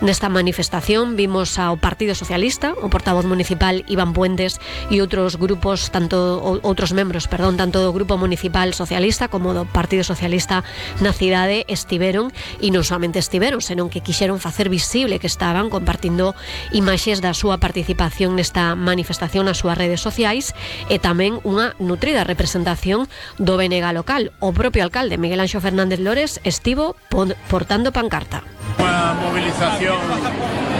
Nesta manifestación vimos ao Partido Socialista, o portavoz municipal Iván Puentes e outros membros, tanto do Grupo Municipal Socialista como do Partido Socialista na cidade estiveron, e non somente estiveron, senón que quixeron facer visible que estaban compartindo imaxes da súa participación nesta manifestación nas súas redes sociais, e tamén unha nutrida representación do BNG local. O propio alcalde Miguel Anxo Fernández Lores estivo portando pancarta. Unha movilización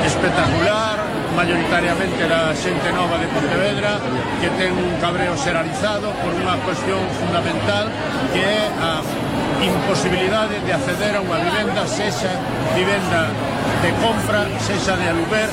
espectacular, mayoritariamente da xente nova de Pontevedra, que ten un cabreo xeralizado por unha cuestión fundamental, que é a imposibilidade de acceder a unha vivenda, sexa vivenda de compra, sexa de aluguer.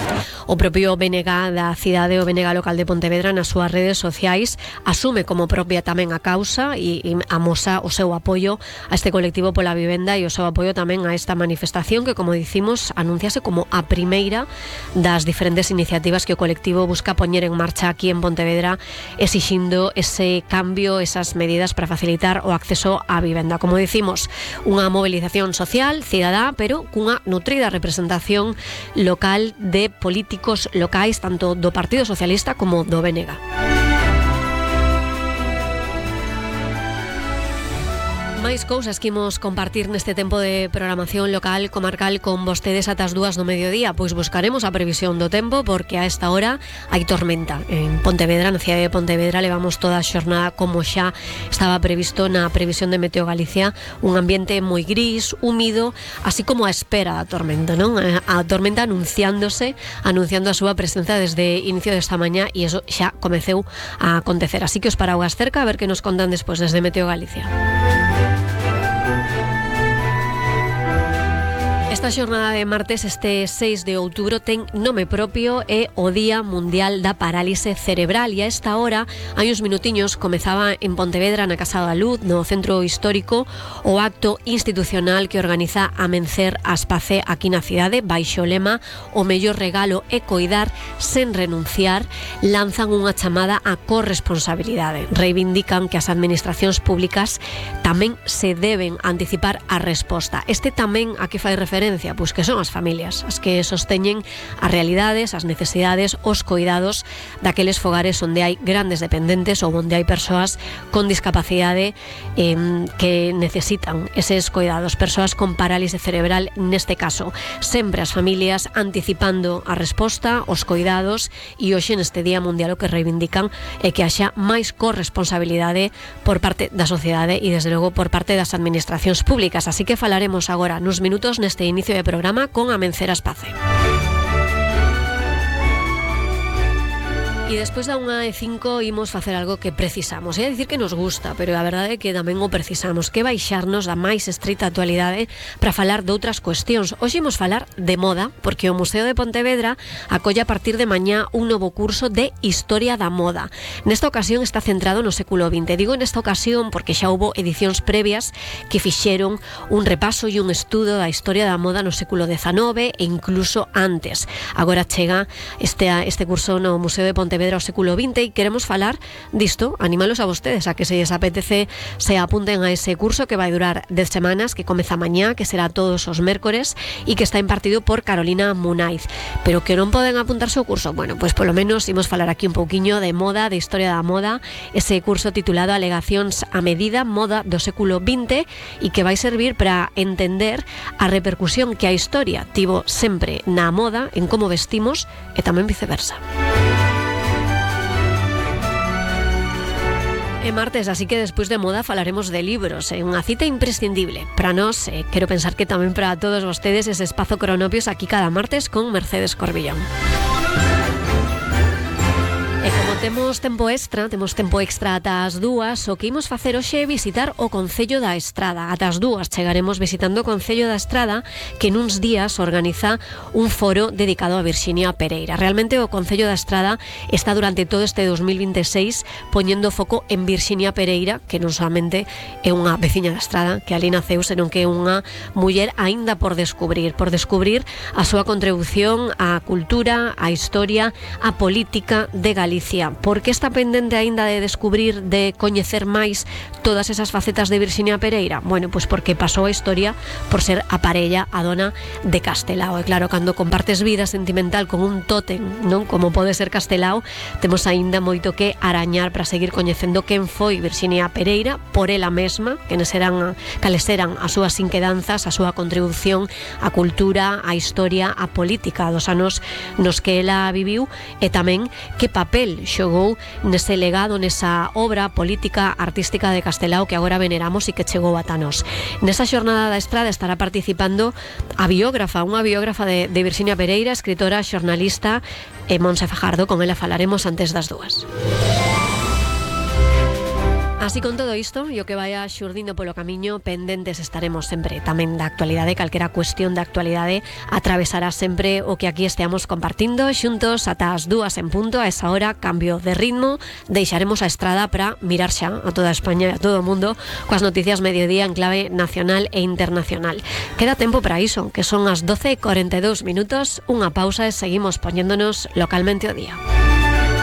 O propio BNG da cidade, o BNG local de Pontevedra, nas súas redes sociais asume como propia tamén a causa e amosa o seu apoio a este colectivo pola vivenda e o seu apoio tamén a esta manifestación que, como dicimos, anunciase como a primeira das diferentes iniciativas que o colectivo busca poñer en marcha aquí en Pontevedra, exixindo ese cambio, esas medidas para facilitar o acceso á vivenda. Como dicimos, unha movilización social, cidadá, pero cunha nutrida representación local de políticos locais, tanto do Partido Socialista como do BNG. Máis cousas que imos compartir neste tempo de programación local comarcal con vostedes ata as 2 do mediodía. Pois buscaremos a previsión do tempo, porque a esta hora hai tormenta en Pontevedra, na cidade de Pontevedra. Levamos toda a xornada como xa estaba previsto na previsión de Meteo Galicia, un ambiente moi gris, húmido, así como a espera da tormenta, non? A tormenta anunciando a súa presenza desde inicio desta mañá, e iso xa comeceu a acontecer. Así que os paraugas cerca, a ver que nos contan despois desde Meteo Galicia. Esta xornada de martes, este 6 de outubro, ten nome propio, é o Día Mundial da Parálise Cerebral, e a esta hora, hai uns minutiños, comezaba en Pontevedra, na Casa da Luz, no Centro Histórico, o acto institucional que organiza Amencer Aspace aquí na cidade, baixo o lema "O mellor regalo é coidar sen renunciar". Lanzan unha chamada á corresponsabilidade. Reivindican que as administracións públicas tamén se deben anticipar a resposta. Este tamén a que fai referencia, pois que son as familias as que sosteñen as realidades, as necesidades, os coidados daqueles fogares onde hai grandes dependentes ou onde hai persoas con discapacidade que necesitan eses coidados, persoas con parálise cerebral neste caso. Sempre as familias anticipando a resposta, os coidados, e hoxe neste Día Mundial o que reivindican é que haxa máis corresponsabilidade por parte da sociedade e desde logo por parte das administracións públicas. Así que falaremos agora nuns minutos neste inicio de programa con Amencer Aspace. E despois da 1:05 imos facer algo que precisamos. É dicir que nos gusta, pero a verdade é que tamén o precisamos, que baixarnos da máis estrita actualidade para falar de outras cuestións. Hoxe imos falar de moda, porque o Museo de Pontevedra acolle a partir de mañá un novo curso de Historia da Moda. Nesta ocasión está centrado no século XX. Digo nesta ocasión porque xa houbo edicións previas que fixeron un repaso e un estudo da historia da moda no século XIX e incluso antes. Agora chega este curso no Museo de Pontevedra ao século XX e queremos falar disto, animalos a vostedes a que se les apetece se apunten a ese curso que vai durar 10 semanas, que comeza mañá, que será todos os mércores e que está impartido por Carolina Munaiz. Pero que non poden apuntarse ao curso, bueno, pois polo menos imos falar aquí un pouquiño de moda, de historia da moda, ese curso titulado Alegacións a medida, moda do século XX, e que vai servir para entender a repercusión que a historia tivo sempre na moda, en como vestimos e tamén viceversa. É martes, así que despois de moda falaremos de libros, unha cita imprescindible para nós, quero pensar que tamén para todos vostedes, ese espazo Cronopios aquí cada martes con Mercedes Corbillón. E como temos tempo extra ata as 2, o que imos facer hoxe é visitar o Concello da Estrada. Ata as 2 chegaremos visitando o Concello da Estrada, que nuns días organiza un foro dedicado a Virxinia Pereira. Realmente o Concello da Estrada está durante todo este 2026 poñendo foco en Virxinia Pereira, que non solamente é unha veciña da Estrada que ali naceu, senón que é unha muller aínda por descubrir a súa contribución á cultura, á historia, á política de Galicia. Pereira. Por que está pendente aínda de descubrir, de coñecer máis todas esas facetas de Virxinia Pereira? Bueno, pois porque pasou a historia por ser a parella, a dona de Castelao. E claro, cando compartes vida sentimental con un tótem, non, como pode ser Castelao, temos aínda moito que arañar para seguir coñecendo quen foi Virxinia Pereira por ela mesma, cales eran as súas inquedanzas, a súa contribución á cultura, á historia, á política dos anos nos que ela viviu, e tamén que papel xogou nese legado, nesa obra política artística de Castelao que agora veneramos e que chegou ata nós. Nesa xornada da Estrada estará participando unha biógrafa de Virxinia Pereira, escritora, xornalista, e Montse Fajardo. Con ela falaremos antes das 2. Así, con todo isto, e o que vaya xurdindo polo camiño, pendentes estaremos sempre tamén da actualidade. Calquera cuestión da actualidade atravesará sempre o que aquí esteamos compartindo xuntos ata as 2 en punto. A esa hora, cambio de ritmo, deixaremos a Estrada para mirar xa a toda España e a todo o mundo coas noticias mediodía en clave nacional e internacional. Queda tempo para iso, que son as 12:42 minutos, unha pausa e seguimos poñéndonos localmente o día.